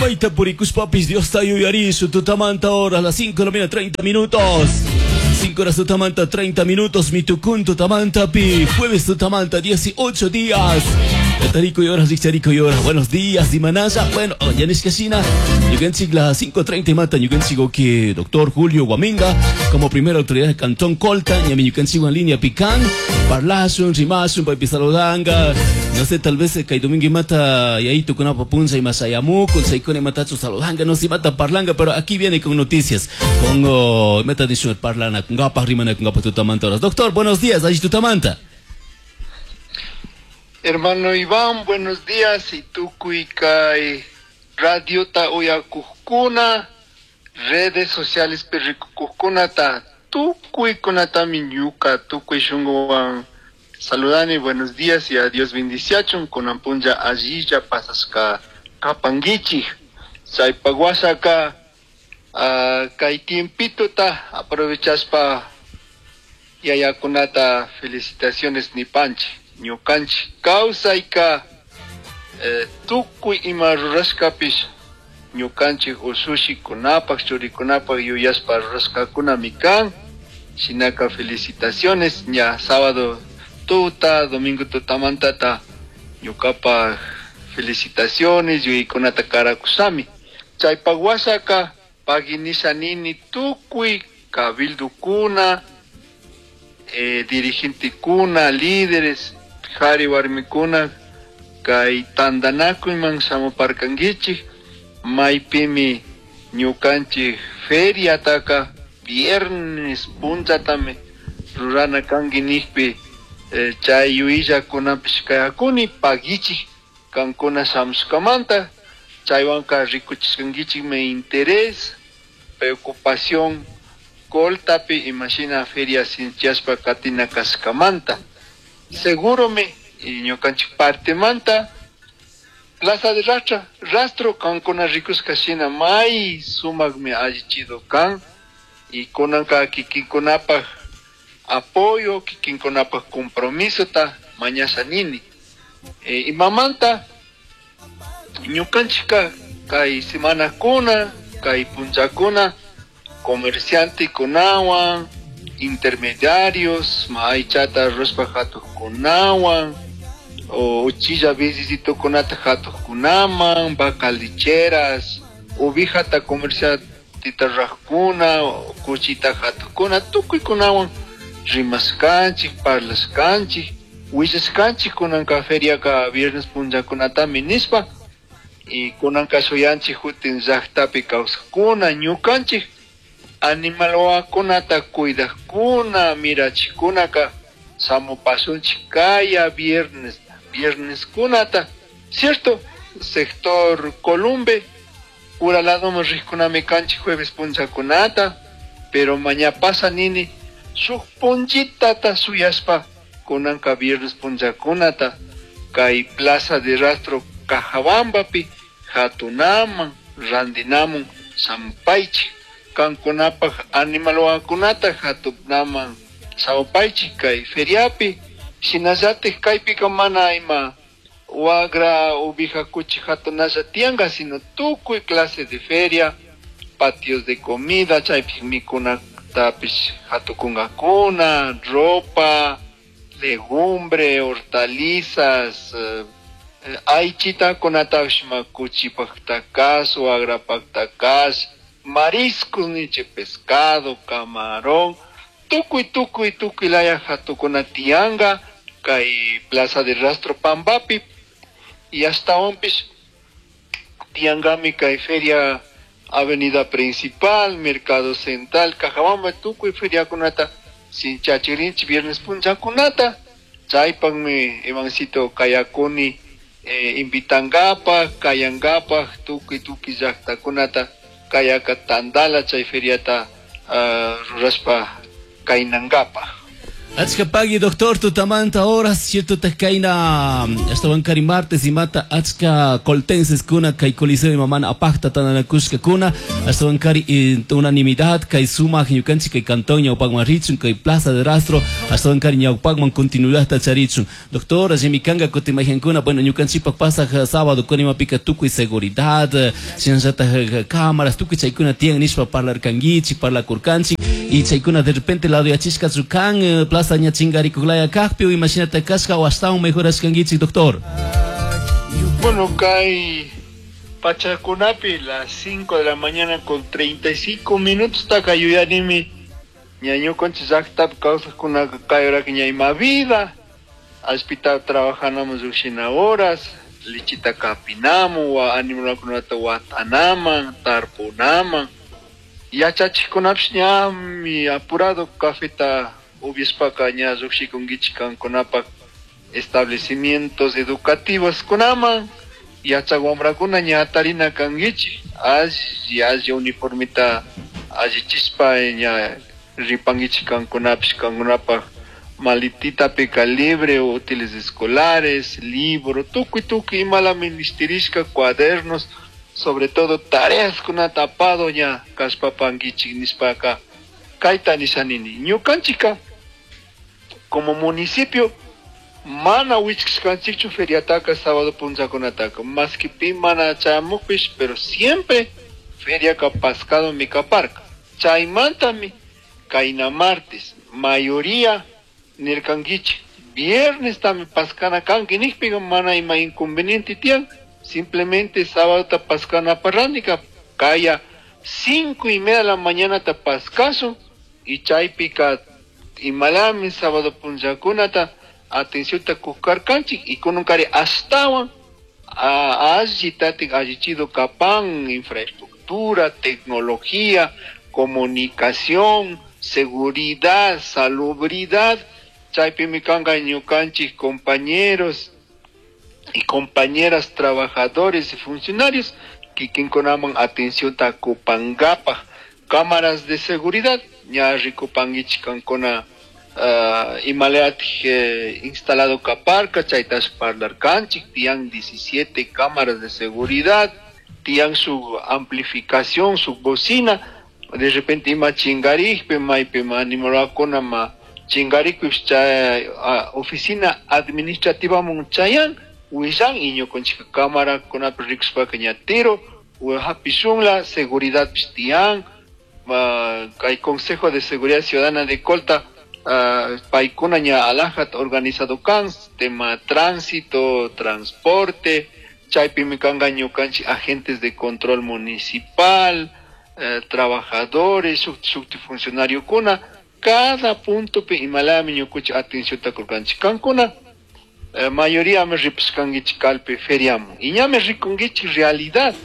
Maita purikushpapis Diosta yuyarisu tutamanta horas las 5 de la mañana 30 minutos. 5 horas tutamanta 30 minutos mitukun tutamanta pi jueves tutamanta 18 días. Tarico y horas, Richarico y horas. Buenos días, Dimanaya. Bueno, Yanis Casina. Ñukanchik las 5:30 mata ñukanchik que doctor Julio Guaminga como primera autoridad del Cantón Colta, ñami ñukanchik en línea pican, parlashun, rimashun, paypi saludanga. No sé, tal vez kay domingo mata yayito kunapa puncha y masayamuku, chaykuna matachu saludanga, no sé, mata parlangá, pero aquí viene con noticias. Con meta nishun parlana, kungapaj rimana kungapaj tutamanta horas. Doctor, buenos días, allí tutamanta. Hermano Iván, buenos días. Y tukuy kay radiota uyakujkuna, redes sociales rikukujkunata, tukuykunatami ñuka, tukuy shunguwan saludani, buenos días y a Dios bendiciachun, kunan punlla allilla pasashka kapanguichik. Chaypak washaka kay tiempitota aprovechashpa yayakunata felicitaciones nipanchik. Ñukanchik kawsayka tukuy ima rurashkapish ñukanchik ushushikunapaj churikunapaj yuyashpa rurashkakunami kan. Shinaka felicitaciones ña sábado tuta, domingo tutamantata ñukapaj felicitaciones yuyaykunata karakushami. Chaypak washaka pagui nisha nini tukuy cabildukuna, dirigentekuna, líderes, jari warmikuna kay tantanakuyman shamuparkankichik, maypimi ñukanchik feriataka viernes punchatami rurana kanki nijpi, chay yuyaykunapish kayakuni paguichik kankuna shamushkamanta, chaywanka rikuchishkankichikmi interés, preocupación Coltapi imashina feria sinchiyashpa katina kashkamanta. Seguromi ñukanchik partemanta Plaza de Rastro kankuna rikushka shina may sumakmi allichido kan y kunanka kikinkunapaj apoyo, kikinkunapaj compromisota mañasha nini. Imamanta ñukanchikka kay semanakuna, kay punchakuna comerciantekunawan, intermediarios, maychata rurashpa hatuqkunawan, o uchilla businessitokunata hatuqkunaman, vaca lecheras, ovejata comerciantita ruraqkuna, kuchita hatuqkuna, tukuykunawan rimashkanchik, parlashkanchik, willashkanchik kunanka feriaka viernes punllakunatami nishpa, y kunanka shuyanchik jutin llaqtapi kawsaqkuna, ñukanchik animal wawakunata cuidaqkuna, mirachikkunaka shamupasunchik kaya viernes, viernes kunata, cierto, sector Columbe, ura ladoman riqkunami kanchik jueves punllakunata, pero maña pasa nini shuk punllitata shuyashpa kunanka viernes punllakunata kay Plaza de Rastro Cajabambapi hatunaman, randinamun shampaychik, kankunapaj animal wawakunata hatunaman shamupaychik kay feriapi, shinallatik kaypika mana ima wagra, ovija, kuchi hatunalla tiyanka, sino tukuy clase de feria, patios de comida, chaypi mikunatapish hatukunkakuna, ropa, legumbre, hortalizas, aychitakunatapish ma kuchipaktakas, wagrapaktakas, mariscos niche, pescado, camarón, tukuy, tukuy, tukuy laya hatukuna tiyanka kay Plaza de Rastro Pambapi, y hasta tiyankami kay feria Avenida Principal, Mercado Central, Cajabamba, tukuy feriakunata sinchachirinchik viernes punchakunata, chaypakmi Ivancito kayakuni invitankapaj, kayankapaj, tukuy, tukuy llaqtakunata kayaka tandala chay feriata rurashpa kaynankapaj. Achka pagui doctor tutamanta horas cierto kayna ashtawankari martes imata achka coltenses kuna kay coliseo imamana apakta tandanakushka kuna ashtawankari unanimidad kay sumak ñukanchik kay cantón ñawpakman richun kay plaza de rastro ashtawankari ñawpakman continuidad charichun. Doctor, allimi kanga kutin mayhankuna, bueno, ñukanchikpak pasaj sábado kunimapika tukuy seguridad shinallatak cámaras tukuy chaykuna tiyan nishpa parlarkankichik, parlakurkanchik y chaykuna de repente lado yachishkachu kan plaza ña chingarikuklaya kajpi o imashinata kashka o ashtawan mejorashkankichik, doctor? Bueno, kay pachakunapi las 5 de la mañana con 35 minutos taka yuyanimi ña ñukanchik llaktapi kawsajkunaka kay horaka ña ima vida allpita trabajanamos llushina horas lichita kapinamun wa animalkunata watanaman tarpunaman yachachikkunapish ñami apurado cafeta upiashpaka ña llukshikunkichik kankunapak establecimientos educativos kunaman yachak wamrakuna ña atarina kankichik alli alli uniformita allichishpa ña ripankichik kankunapish kankunapak maletitapika libre útiles escolares, libro, tukuy tukuy imala ministirishka cuadernos, sobre todo tareas kunata apado ña kashpapankichik nishpaka kayta nishanini. Ñukanchika como municipio mana wichkashkanchikchu feriataka sábado punllakunataka, maski pi mana chayamukpish, pero siempre feriaka pascado mikaparka. Chaymantami kayna martes mayoría nirkankichik viernes tami pascana kanki nikpika mana ima inconveniente tiyan, simplemente sábado ta pascana parrandika kaya 5:30 de la mañana ta pascaso y chaypika imalami sábado punllakunata atención ta kukarkanchik y kununkari ashtawan alli tatik allichido kapan infraestructura, tecnología, comunicación, seguridad, salubridad. Chaypimi kanka ñukanchik compañeros y compañeras trabajadores y funcionarios kikinkunaman atención ta kupangapaj cámaras de seguridad ña rikupankichik kankuna imalayatik instalado kaparka chaytash parlarkanchik tiyan 17 cámaras de seguridad tiyan su amplificación, su bocina, de repente ima chingarikpi maypi animalakuna ma chingarikpish chay oficina administrativa mun chayan willan y ñukanchik cámara kunapi rikushpaka ña tiro hapishunla seguridad pish tiyan kay Consejo de Seguridad Ciudadana de Colta paykuna ña alajat organizado kan tema tránsito, transporte, chaypimi kanka ñukanchik agentes de control municipal, trabajadores, shukti funcionario kuna cada punto pi imalami ñukuchi atención ta kurkanchik kankuna mayoría me ripuskankichik kalpi feriamu y ña me rikunkichik realidad.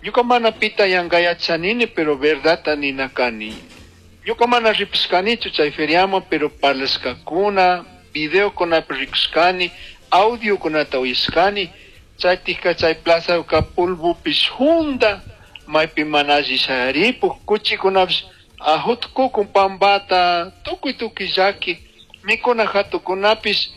Ñuka mana pita yankayachanini pero verdad nina kani. Ñuka mana ripuskanichu chay feriamu pero parlashkakuna video kunapi rikushkani audio kunata uyashkani chaytika chay plaza ka pulvupish junda maypi mana alli shayaripuk kuchikunapish ajutkukun pambata tukuy tukuy llaki mikuna hatukunapish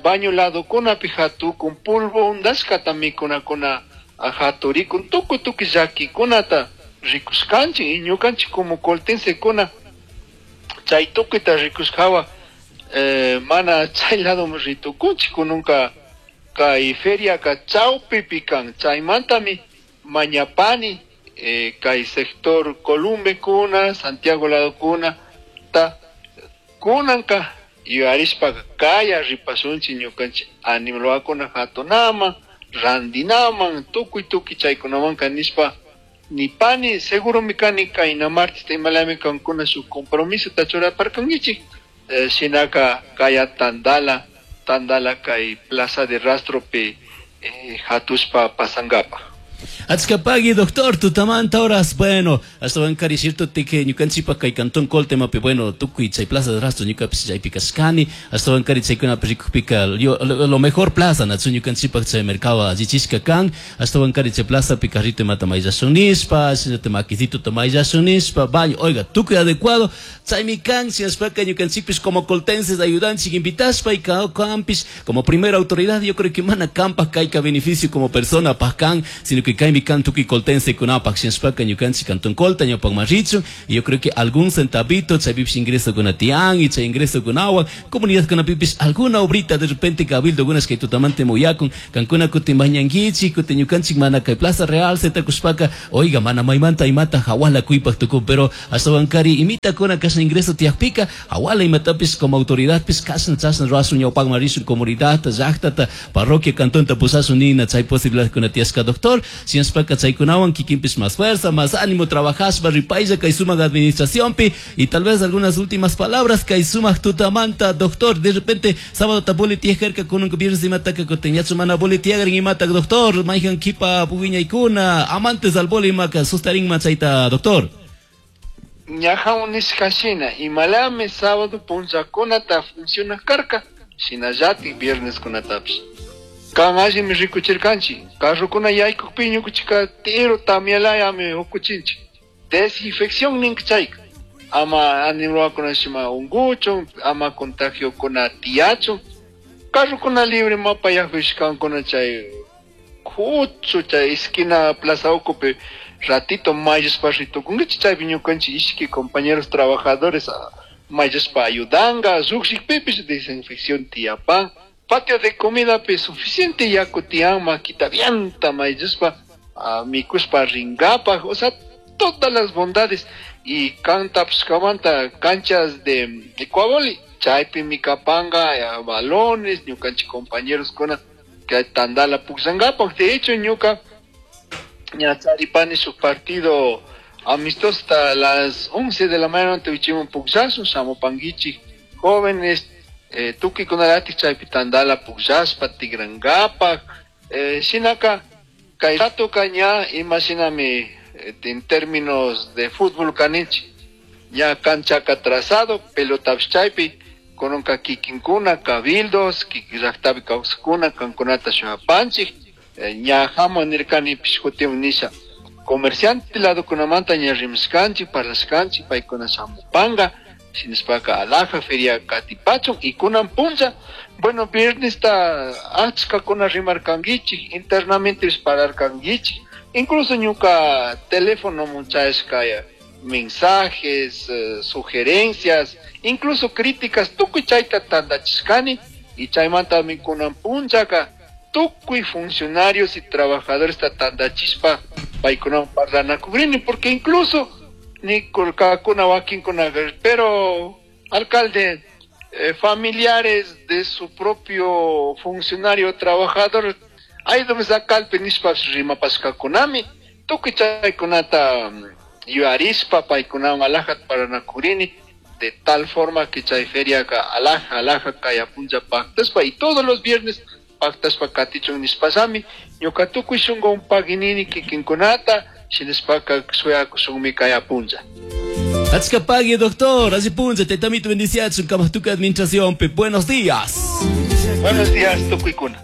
baño ladokunapi hatukun pulvo undashkata mikunakuna haturikun tukuy tukuy llakikunata rikushkanchik y ñukanchik como coltensekuna chay tukuyta rikushkawa mana chay ladoman ritukunchik kununka kay feriaka chawpipi kan chaymantami mañapani kay sector Columbe kuna Santiago lado kuna ta kunanka yuyarishpaka kaya ripasunchik ñukanchik animalwakuna hatunaman randinaman tukuy tukuy chaykunamanka nishpa nipani seguro mi kani kayna martes imalami kankuna shuk compromiso ta churaparkankichik shinaka kaya tandala tandala kay plaza de rastropi hatushpa pasankapa. Achkapagui, doctor, tutamanta horas, bueno, ashtawankari cierto tike ñukanchikpak kay cantón Colta imapi, bueno, tukuy chay plaza de rastro ñukapish chaypi kashkani, ashtawankari chaykunapi rikukpika lo mejor plaza nachu ñukanchikpak chay mercado allichishka kan, ashtawankari chay plazapi carrito imata mayllashun nishpa, shinallata maquisitota mayllashun nishpa, baño, oiga, tukuy adecuado, chaymi kan, shinashpaka ñukanchikpish como coltenses ayudanchik invitashpa y kanpish como primera autoridad, yo creo que mana kanpak kayka beneficio como persona pak kan, sino que kaymi kan tukuy coltense kunapak, shinashpaka ñukanchik cantón Colta ñawpakman richun, y yo creo que algún centavito chaypipish ingreso kuna tiyan y chay ingreso kunawan comunidad kunapipish alguna obrita de repente cabildo kunas kay tutamante muyakun kankuna kutin mañankichik kutin ñukanchik mana kay Plaza Real setakushpaka, oiga, mana maymanta imata hawala kuypak tukun, pero ashtawankari imitakuna kashna ingreso tiyakpika hawala imatapish como autoridadpish kashna chashna ruwashun ñawpakman rishun comunidadta llaqtata parroquia cantonta pushashun nina chay posibilidad kuna tiyashka, doctor, shinashpaka chaykunawan kikinpish más fuerza, más ánimo trabajashpa ripaylla kay sumak administracionpi. Y tal vez algunas últimas palabras kay sumak tutamanta, doctor, de repente sábado ta boli tiyajarka kunanka viernes imataka kutin yachu mana boli tiyagrin imata, doctor, mayhan kipa puwiñaykuna amantes al boli imaka sustarinman chayta, doctor. Ñaja nishka shina imalami sábado punllakunata funciona karka, shinallatik viernes kunatapish kan allimi rikuchirkanchik carrokuna yaykukpi ñukuchika tiro tamyalayami ukuchinchik desinfección ninka chayka ama animalkuna shima unguchun ama contagiokuna tiyachun carrokuna libre mapayakpishkankuna chay kuchu chay esquina plaza ukupi ratito mayllashpa ritukunkichik chaypi ñukanchik ishki compañeros trabajadores mayllashpa ayudanga llukshikpipish desinfección tiyapan patio de comidapi suficiente yaku tiyan makita bienta mayllashpa mikushpa rinkapak, o sea, todas las bondades. Y kan tapishkamanta canchas de ecuaboli chaypi mikapanga balones ñukanchik compañeros kuna que tandala pukllankapak. De hecho ñuka ña charipani shuk partido amistoso hasta las 11 de la mañana tuvichimun pukllashun shamupankichik jóvenes tukuy-kunalatik chaypi tandala pukllashpa tikrankapak shinaka kay ratoka ña imashinami en términos de fútbol kaninchik ña canchaka trazado pelotapish chaypi kunanka kikinkuna cabildos kikin llaktapi kawsakuna kankunata shuyapanchik ña hamu nirkanipish kutin nisha comerciante ladokunamanta ña rimashkanchik parlashkanchik paykuna shamupanka shinashpaka alhaja feria katipachun y kunan punlla, bueno, viernesta achkakuna rimarkankichik internamente pararkankichik incluso ñuka teléfono chayashka mensajes, sugerencias, incluso críticas tukuy chayta tandachishkani y chaymantami kunan punllaka tukuy funcionarios y trabajadores ta tandachishpa paykunawan parlanakukrini porque incluso ni kakuna wakinkuna pero alcalde familiares de su propio funcionario trabajador ayudame sakalpi nishpapish rimapashkakunami tukuy chaykunata yuyarishpa paykunawan alhajata paranakurini de tal forma que chay feriaka alhaja alhaja kaya punlla paktashpa y todos los viernes paktashpa katichun nishpashami ñuka tukuy shunkuwan paginini kikinkunata shinashpaka shuyakushunmi kaya punlla. Achkapagui, doctor, alli punlla, taytamito bendiciachun, kamatuka administración, buenos días. Buenos días, tukuykuna.